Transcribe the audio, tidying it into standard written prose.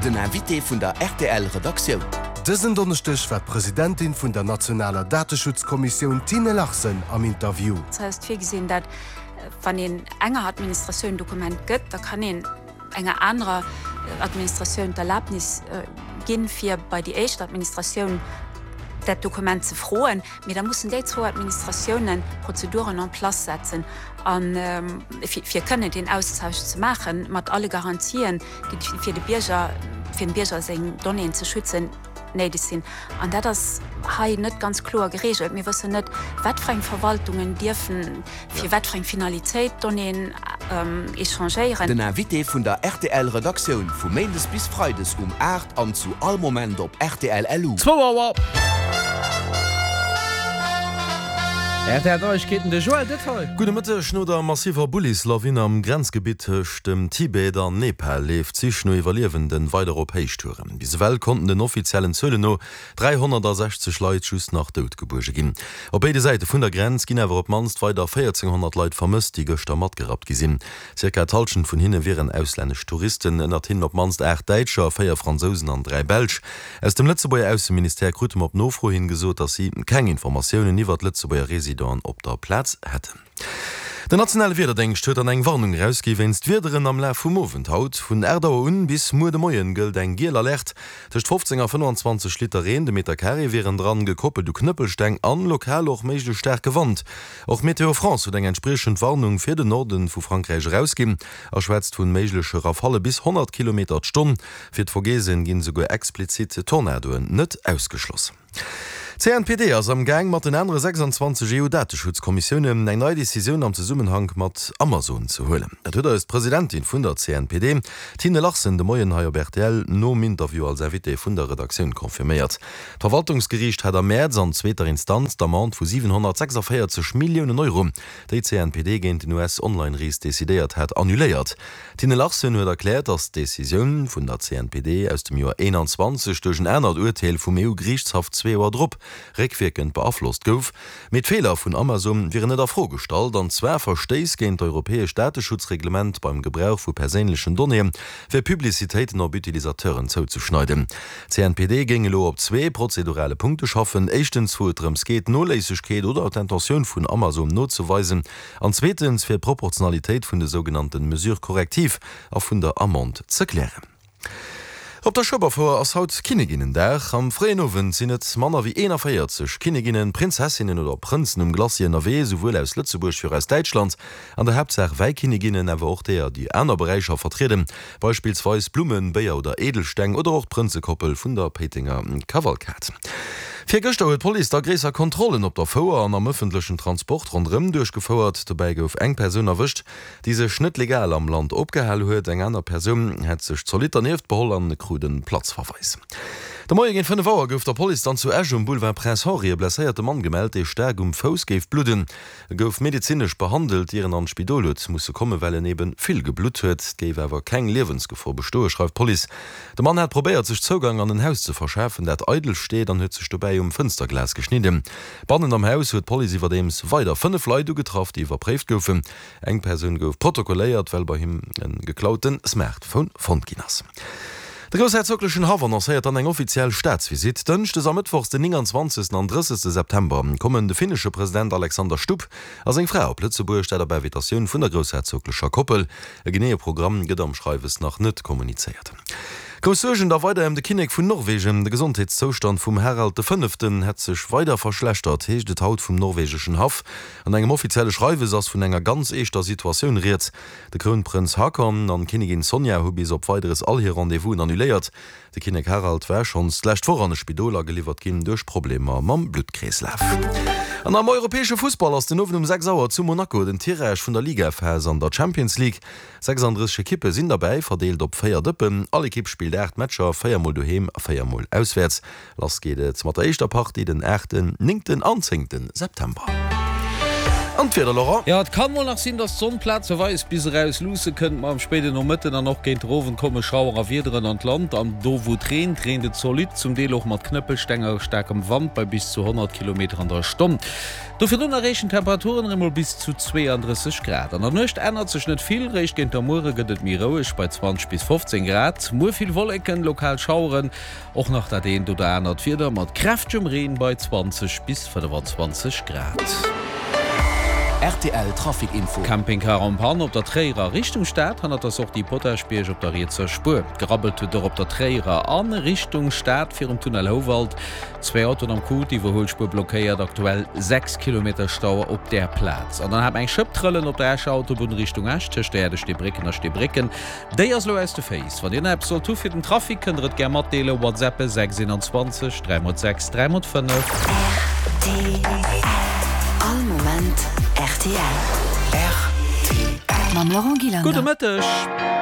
Den Invité vun der rtl Redaktioun. Dësen Donneschdeg war d'Presidentin vun der nationaler Dateschutzkommissioun Tine Larsen am Interview. Hei ass virgesinn, dat wann een enger Administratioun en Dokument gëtt, da kann een enger anerer Administratioun d'Erlaabnis ginn, fir bei déi éischt Administratioun dat Dokument ze froen. Mee da mussen déi zwou Administratiounen Prozeduren en place setzen, a fir kënnen deen Austausch ze maachen, mat alle Garantien, déi fir de Bierger, fir dem Bierger seng Donnéeën ze schützen, néideg sinn. An dat ass hei net ganz kloer geregelt. Mir wëssen net, wat fir eng Verwaltungen dierfen fir wat fir eng Finalitéit Donnéeën échangéieren. Den Invité vun der rtl Redaktioun vu Méindes bis Freides um 8 an zu all Moment op rtl LU. Zwou Auer. RTL Neiegkeeten, de Joël Detail. Gudde Mëtteg. No der massiver Bullislawin am Grenzgebitt tëscht dem Tibet an Nepal leeft d'Sich no Iwwerliewenden weider op Héichtouren. Bis ewell konnten den offiziellen Zuelen no 360 Leit just nach dout gebuerge ginn. Op béide Säite vun der Grenz ginn awer op d'mannst weider 1.400 Leit vermësst, déi gëschter matgerappt gi sinn. Zirka d'Hallschent vun hinne wieren auslännesch Touristen, ënnert hinnen op d'mannst 8 Däitscher, 4 Fransousen an 3 Belsch. Aus dem Lëtzebuerger Ausseministère krute mer op Nofro hin gesot, datt si keng Informatiounen iwwert Lëtzebuerger Residenten op der Plaz hätten. Den nationale Wiederdéngscht huet dann eng Warnung erausgi wéinst Wiederen am Laf vum Owend haut. Vun 8 Auer un bis muer de Moien gëllt eng giel Alerte. Tëscht 15 a 25 Liter Reen de Meter Carré wieren dran, gekoppelt u Knëppelsteng an lokal och méiglech staarke Wand. Och Météo France huet eng entspriechend Warnung fir den Norde vu Frankräich erausginn a schwätzt vun méigleche Rafalle bis 100 Kilometer d'Stonn. Fir d'Vogesen ginn esouguer explizit Tornadoen net ausgeschloss. D'CNPD ass am Gaang mat den anere 26 EU-Dateschutzkommissiounen eng nei Decisioun am Zesummenhank mat Amazon ze huelen. Dat huet eis d'Presidentin vun der CNPD, Tine Larsen, de Moien hei op rtl nom Interview als Invitée vun der Redaktioun confirméiert. D'Verwaltungsgeriicht hat am Mäerz an zweeter Instanz d'Amende vu 746 Milliounen Euro, déi d'CNPD géint den US-Online-Ris decidéiert hat, annuléiert. D'Tine Larsen huet erkläert, datt d'Decisioun vun der CNPD aus dem Joer 21 duerch en anert Urteel vum EU-Geriichtshaff zwee Joer drop réckwierkend beaflosst gouf. Mee d'Feeler vun Amazon wieren net a Fro gestallt, an zwar Verstéiss géint d'europäescht Dateschutzreglement beim Gebrauch vu perséinlechen Donnéeë fir Publicitéiten op Utilisateuren zouzeschneiden. D'CNPD géing elo op zwee prozedurale Punkte schaffen, éischtens wou et drëms geet, d'Noléissegkeet oder d'Intentioun vun Amazon nozeweisen, An zweetens, fir d'Proportionalitéit vun de sougenannten Mesures correctives a vun der Amende ze klären. Op der Schueberfouer ass haut Kinneginnendag. Am fréien Owend sinn et manner wéi 41 Kinneginnen, Prinzessinnen oder Prënzen um Glacis ënnerwee, souwuel aus Lëtzebuerg wéi och aus Däitschland. An der Haaptsaach Wäikinneginnen, awer och deeër, déi aner Beräicher vertrieden, Beispillsweis Blummen, Béier oder Edelsteng oder och d'Prënzekoppel vun der Péitenger Kavalkad. Virgëschter huet d'Police da gréisser Kontrollen op der Fouer an am ëffentlechen Transport ronderëm duerchgefouert. Dobäi gouf eng Persoun erwëscht, déi sech net legal am Land opgehal huet. Eng aner Persoun hätt sech zolidd dernieft beholl an krut e Platzverweis. De Moie géint 5 Auer gouf der Police dann zu Esch um Boulevard Prince Henri e blesséierte Mann gemellt, dee staark um Fouss géif bludden. E gouf medezinesch behandelt, ier en an d'Spidol huet musse kommen, well en ebe vill geblutt huet. Et géif awer keng Liewensgefor bestoen, schreift d'Police. De Mann hat probéiert, sech Zougang an en Haus ze verschafen, dat eidel steet, an huet sech dobäi um Fënsterglas geschnidden. Bannen am Haus huet d'Police iwwerdeems weider 5 Leit ugetraff, déi iwwerpréift goufen. Eng Persoun gouf protokolléiert, well bei him e geklaute Smartphone fonnt ginn ass. De groussherzoglechen Haff annoncéiert dann eng offiziell Staatsvisitt. Dënschdes a Mëttwochs, den 29. an 30. September, kommen de finnesche President Alexander Stubb a seng Fra op Lëtzebuerg, dat op Invitatioun vun der groussherzoglecher Koppel. E geneeë Programm gëtt am Schreiwes nach net kommunizéiert. Grouss Suergen da weider ëm de Kinnek vun Norwegen. De Gesondheetszoustand vum Harald de Fënneften hätt sech weider verschlechtert, heescht et haut vum norwegeschen Haff. An engem offizielle Schreiwes ass vun enger ganz eeschter Situatioun rieds. De Krounprënz Haakon an d'Kinnigin Sonja hu bis op Weideres all hir Rendez-vousen annuléiert. De Kinnek Harald war schonns d'lescht Woch an e Spidol ageliwwert ginn duerch Problemer mam Bluttkreeslaf. An am europäesche Fussball ass den Owend um 6 Auer zu Monaco den Tirage vun der Ligaphas an der Champions League. 36 Ekippe sinn derbäi, verdeelt op 4 Dëppen. All Ekipp spillt 8 Matcher, 4 mol doheem a 4 mol auswäerts. Lass geet et mat der éischter Partie den aachten, néngten an zéngte September. An d'Wieder, Laurent? Jo, et kann mol nach sinn, dass d'Sonn plazeweis bis eraus luusse kënnt, ma am spéiden Nomëtten an och géint de Owend komme Schauer a Wiederen an d'Land. An do wou et reent, reent et zolidd, zum Deel och mat Knëppelsteng a staarkem Wand bei bis zu 100 Kilometer an der Stonn. Do virdrun erreechen d'Temperaturen erëm mol bis zu 32 Grad. An der Nuecht ännert sech net vill, réischt géint der Muere gëtt et méi roueg bei 20 bis 15 Grad. Muer vill Wolleken, lokal Schaueren, och nach dat eent oder anert Wieder mat kräftegem Reen bei 20 bis 25 Grad. Rtl Trafic Info. Campingcar en panne op der Tréierer Richtung Stad, hannert der Sortie Potaschbierg op der rietser Spuer. Gerabbelt huet och op der Tréierer a Richtung Stad virum Tunnel Houwald. Zwee Autoen am Coup, d'Iwwerhuelspuer blockéiert, aktuell 6 Kilometer Stau op där Plaz. An dann hat mer eng Schëpp trëllen op der Escher Autobunn Richtung Esch, tëscht der Aire de Steebrécken a Steebrécken. Déi ass elo aus de Féiss. Wann dir nach eppes sollt hu fir den Trafic, kënnt der et gär matdeelen, WhatsAppe 6 21 3 x 6 3 x 5. Rtl, All Moment rtl. Mam Laurent Gillander. Gudde Mëtteg.